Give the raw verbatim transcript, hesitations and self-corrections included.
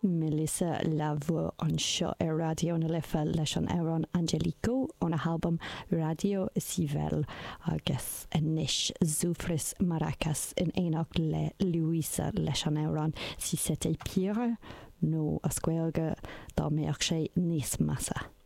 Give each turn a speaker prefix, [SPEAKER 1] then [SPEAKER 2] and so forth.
[SPEAKER 1] Melissa La Voix anseo ar Raidió na Life leis an amhrán Angelico óna halbam Radio Civil agus anois Zufris Maracas in éineacht le Luisa leis an amhrán Si c'était pire nó as Gaeilge dá mbeadh sé níos measa.